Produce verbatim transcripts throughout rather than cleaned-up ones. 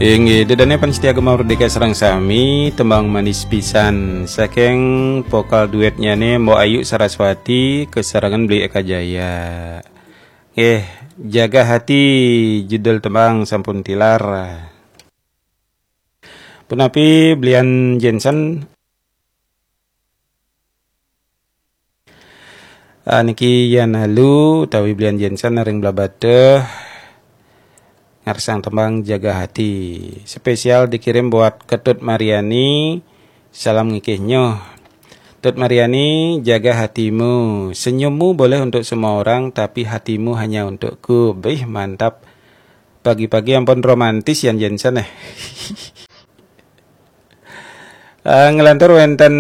Inggih, ida dané pamiarsa Gema Merdeka sareng sami, tembang manis pisan saking vokal duetnyané Mbok Ayu Saraswati kesarengan Beli Eka Jaya. Nggih, Jaga Hati judul tembang sampun tilar. Punapi Belian Jensen? Ah, niki Yan Halu utawi Belian Jensen ring Blabatuh ngarsang tembang Jaga Hati. Spesial dikirim buat Ketut Mariani. Salam ngikih nyoh. Tut Mariani, jaga hatimu. Senyummu boleh untuk semua orang, tapi hatimu hanya untukku. Bih, mantap. Pagi-pagi ampun romantis Yan Jensen eh. Eh, ngelantur wenten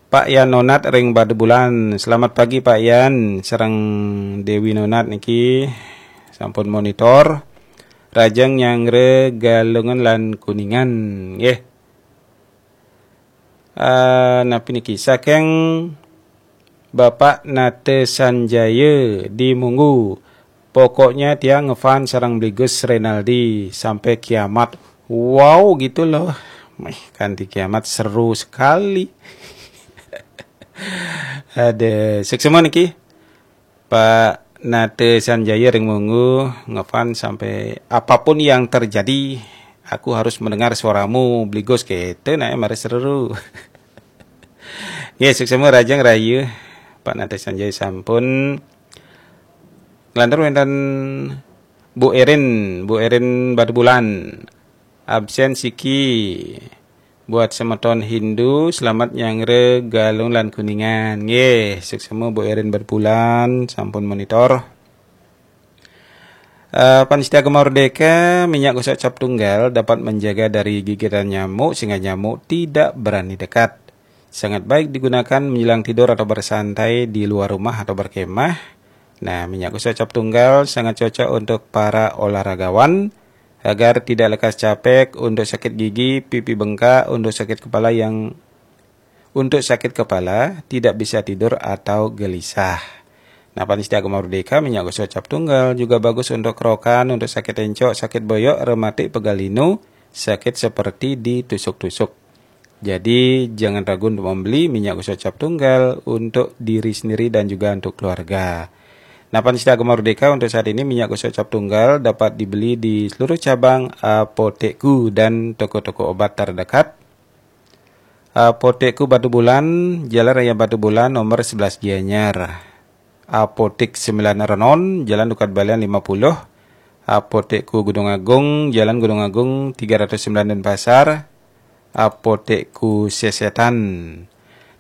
Pak Yan Nonat ring Batubulan. Selamat pagi Pak Yan, sareng Dewi Nonat niki sampun monitor. Rajang nyanggra Galungan lan Kuningan. Nggih. Eh, napi niki? Saking Bapak Nate Sanjaya di Munggu. Pokoknya tiang ngefans sareng Bli Gus Renaldi sampai kiamat. Wow, gitu loh. Meh, kanti kiamat seru sekali. Ada suksma niki. Pak Nate Sanjaya ring Munggu ngefans sampai apapun yang terjadi, aku harus mendengar suaramu, Bli Gus, gitu, nah, mari seru. Nggih, suksma rajang rahayu. Pak Nate Sanjaya sampun. Nglantur wenten Bu Erin, Bu Erin Batubulan. Absen siki. Buat semeton Hindu, selamat nyanggra Galung lan Kuningan. Nggih, suksma Bu Erin Batubulan, sampun monitor. Eh, pamiarsa Gema Merdeka, minyak gosok cap tunggal dapat menjaga dari gigitan nyamuk sehingga nyamuk tidak berani dekat. Sangat baik digunakan menjelang tidur atau bersantai di luar rumah atau berkemah. Nah, minyak gosok cap tunggal sangat cocok untuk para olahragawan agar tidak lekas capek, untuk sakit gigi, pipi bengkak, untuk sakit kepala yang untuk sakit kepala, tidak bisa tidur atau gelisah. Nah, pamiarsa Gema Merdeka, minyak gosok cap tunggal juga bagus untuk kerokan, untuk sakit encok, sakit boyok, rematik, pegal linu, sakit seperti ditusuk-tusuk. Jadi, jangan ragu untuk membeli minyak gosok cap tunggal untuk diri sendiri dan juga untuk keluarga. Nah, pamiarsa Gema Merdeka, untuk saat ini minyak gosok cap tunggal dapat dibeli di seluruh cabang Apotekku dan toko-toko obat terdekat. Apotekku Batubulan, Jalan Raya Batubulan, nomor sebelas Gianyar. Apotek Sembilan Renon, Jalan Dukat Balian lima puluh. Apotekku Gunung Agung, Jalan Gunung Agung tiga ratus sembilan Denpasar. Apotekku Sesetan.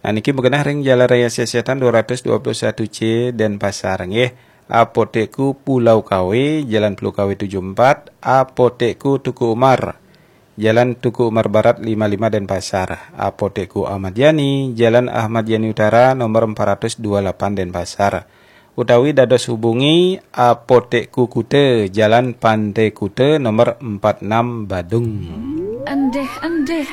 Nah, niki magenah ring Jalan Raya Sesetan dua ratus dua puluh satu C Denpasar, nggih. Apotekku Pulau Kawe, Jalan Pulau Kawe tujuh empat. Apotekku Tuku Umar, Jalan Tuku Umar Barat lima lima Denpasar. Apotekku Ahmad Yani, Jalan Ahmad Yani Utara nomor empat ratus dua lapan Denpasar. Utawi dados hubungi Apotekku Kuta, Jalan Pantai Kuta nomor empat enam Badung. Endih-endih